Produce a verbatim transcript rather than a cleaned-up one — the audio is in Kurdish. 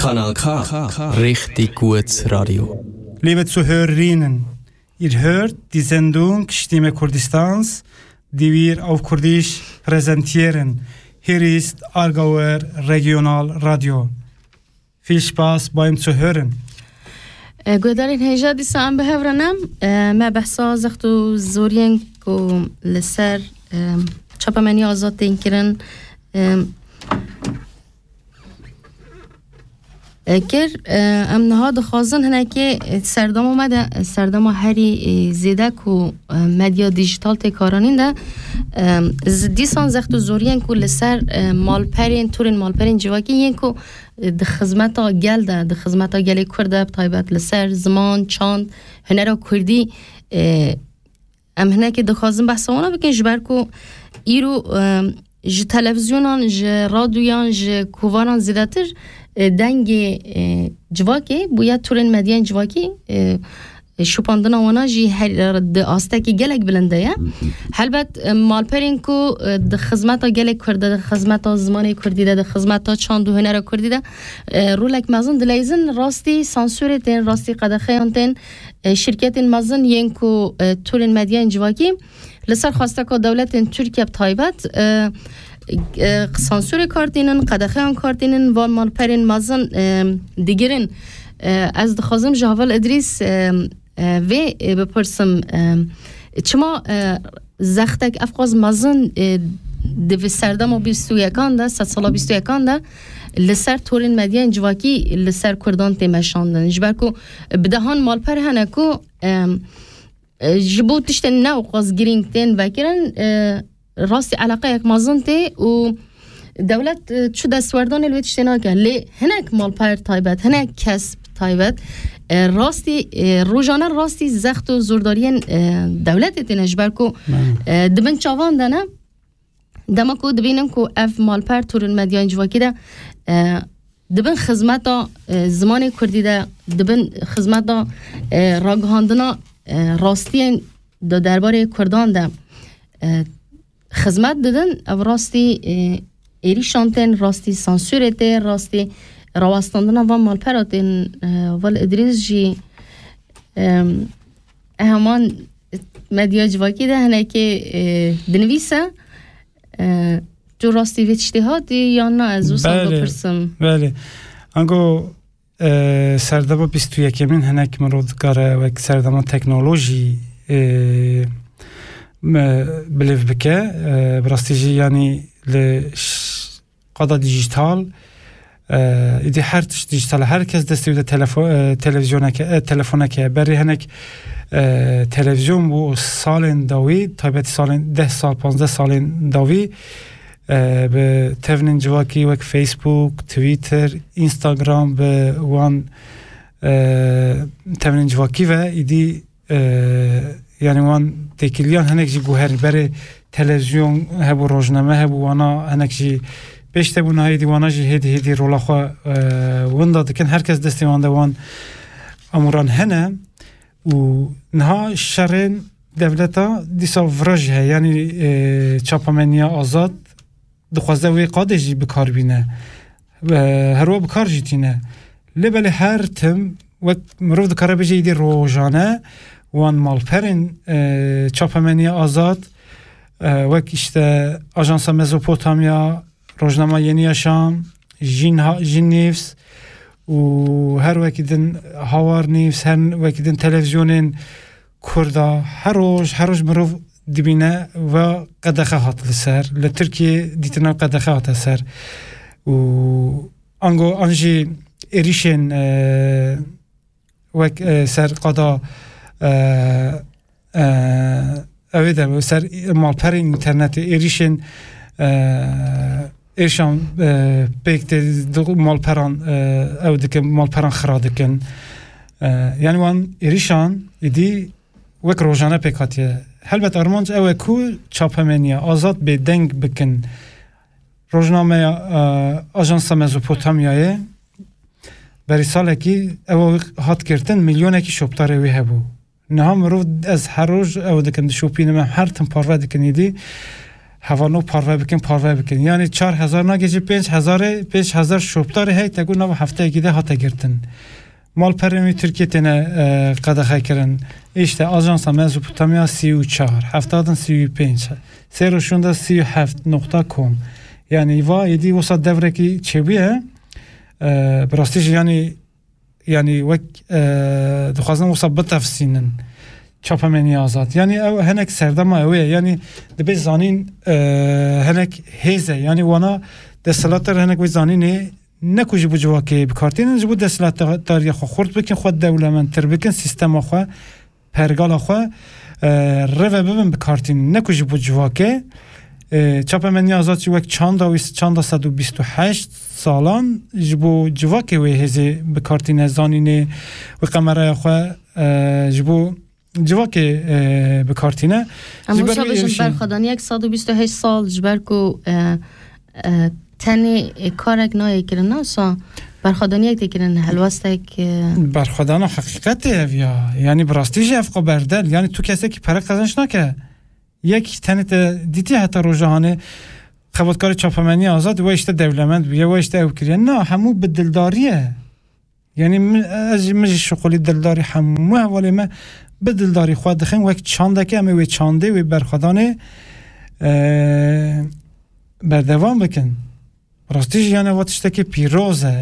Kanal K, Richtig gut Radio. Liebe Zuhörerinnen, ihr hört die Sendung Stimme Kurdistans, die wir auf Kurdisch präsentieren. Hier ist Aargauer Regionalradio. Viel Spaß beim Zuhören. E, guhdarên hêja, dîsa em bi hev re ne. E, me behsa zext û zoriyên ku li ser, e, çapemeniya azad tên kirin, e, e, kir. E, em niha dixwazin hinekê, e, serdema me de, e, serdema herî, e, zêde ku, e, medya dîjîtal tê karanîn de, e, z-, dîsan zext û zoriyên ku li ser, e, malperên, torên malperên civakî yên ku, e, di xizmeta gel de, di xizmeta gelê Kurd de, bi taybet li ser ziman, çand, hunera Kurdî, e, em hinekê dixwazin behsa wana bikin, ji ber ku îro, e, ji televîzyonan, ji radyoyan, ji kovaran zêdetir, e, dengê, e, civakê bûye, torên medyayên civakî, e, şopandina wana jî her, di astekî gelek bilind de ye. Helbet, e, malperên ku, e, di xizmeta gelê Kurd de, di xizmeta zimanê Kurdî de, di xizmeta çand û hunera Kurdî de, e, rolek mezin dileyzin, rastî sansûrê tên, rastî qedexeyan tên, e, şirketên mezin yên ku, e, tolên medyayên civakî li ser xwesteka dewletên Tirkiye bi taybet, e, e, sansûrê kar tînin, qedexeyan kar tînin, van malperên mezin, e, digirin. E, ez dixwazim ji Heval Idrîs, e, e, vê, e, bipirsim, e, çima, e, zextek evqas mezin, e, di vê serdema bîst û yekan de, sedsala bîst û yekan de li ser torên medyayên civakî li ser Kurdan tê meşandin? Ji ber ku bi dehan malper hene ku, e, e, ji bo tiştên ne ewqas girîng tên vekirin, e, rastî eleqeyek mezin tê û dewlet, e, çi destwerdanê li wê tiştê nake. Lê hinek malper taybet, hinek kes taybet, e, rastî, e, rojane rastî zext û zordariyên, e, dewletê têne, ji ber ku, e, di bin çavan de ne. Dema ku dibînin ku ev malper torên medyayên civakî de, e, di bin xizmeta, e, zimanê Kurdî de, di bin xizmeta, e, ragihandina, e, rastiyên di derbarê Kurdan de, e, xizmet didin, ev rastî, e, êrîşan tên, rastî sansûrê tê, rastî rawestandina van malpera tên, e, Heval Idrîs jî, e, heman medya civakî de hinekê, e, dinivîse, e, tu rastî vê tiştê hatî yan na, ez wisa Belê, bipirsim. Belê. Ango, e, serdema bîst û yekemîn hinek mirov dikare wek serdema teknolojî, e, me, bilêv bike. E, bi rastî jî, yanî li ş-, qada dîjîtal, e, îdî her tişt dîjîtal e. Her kes destê wî de telefo-, e, televîzyoneke, e, telefoneke ye. Berê hinek, e, televîzyon bû û salên dawî, taybetî salên deh sal, panzdeh salên dawî, e, bi tevnên civakî wek Facebook, Twitter, Instagram, bi wan, e, tevnên civakî ve îdî, e, yanî wan têkiliyan hinek jî guherî. Berê televîzyon hebû, rojname hebû, wana hinek jî pêş de bû, niha êdî wana jî hêdî hêdî rola xwe, e, winda dikin. Her kes destê wan de wan amûran hene û niha şerên dewleta dîsa vira jî heye. Yanî, e, çapemeniya azad dixwaze wê qadê jî bi kar bîne. E, her wa bi kar jî tîne. Lê belê her tim wek mirov dikare bêje, îdî rojane wan malperên, e, çapemeniya azad, e, wek işte Ajansa Mezopotamya, Rojnama Yeni Yaşam, Jin Ha-, Jin News û her wekî din Hawar News, her wekî din televîzyonên Kurda, her roj, her roj mirov dibîne ve qedexe hat li ser, li Tirkiye dîtina qedexe hate ser. Û ango an jî êrîşên, e, wek, e, ser qada, e, e, ew ê de ser malperên înternetê êrîşên, e, êrîşan, e, pêk tê di malperan, e, ew dikin, malperan xira dikin. E, yanî wan êrîşan êdî wek rojane pêk hatiye. Helbet armanc ew e ku çapemeniya azad bêdeng bikin. Rojnameya, e, Ajansa Mezopotamyayê berî salekî ew hat girtin, milyonekî şopdarê wê hebû. Niha mirov, ez her roj ew dikim, dişopînim, em her tim parve dikin êdî. Hevalno parve bikin, parve bikin. Yanî çar hezar nagê jî pênc hezarê, pênc hezar şopdarê hey te ku nava hefteyekî de hate girtin. Malperên wî Tirkiye têne, e, qedexe kirin. Îşte ajansa Mezopotamya sî û çar, heftadin sî û pênc, sêroşunda sî û heft nokta com. Yanî va êdî wisa devrekî çêbûye. E, bi rastî jî yanî, yanî wek, e, dixwazin wisa bitefsînin. Çapemenî azad. Yanî ew hinek serdema ew ê. Yanî dibê zanîn, e, hinek hêze. Yanî wana desthilatdar hinek wê zanînê ne ku ji bo civakê bikartînin, ji bo desthilatdariya xwe xurt bikin, xwe dewlemendtir bikin, sîstema xwe, pergala xwe, e, reve bibin bikartînin. Ne ku ji bo civakê, e, çapemenî azad jî wek çanda wî, çanda sed û bîst û heşt salan ji bo civakê wê hêzê bikartîne, zanînê wê qemeraya xwe, e, ji bo civakê, e, bikartîne. Em Ji ber wisa wê bêjin êrişî- berxwedaniyek sed û bîst û heşt sal ji ber ku, e, e, tenê, e, karek nayê kirin, na wisa berxwedaniyek tê kirin, helwestek, e, Berxwedana heqîqetê ev ya. Yanî bi rastî jî ev xwe berdel. Yanî tu kesekî pere qezenç nake. Yek tenê te dîtî heta roja hanê xebatkarê çapemenî azad we işte dewlemend bûye, we işte ew kiriye. Na, hemû bi dildarî ye. Yanî min, ez jî, min jî şixulî dildarî hemû hevalê me bi dildarî xwe dixin wek çandeke em ê wê çandê wê berxwedanê, e, berdewam bikin. Rastî jî yani va tiştekî pîroz e.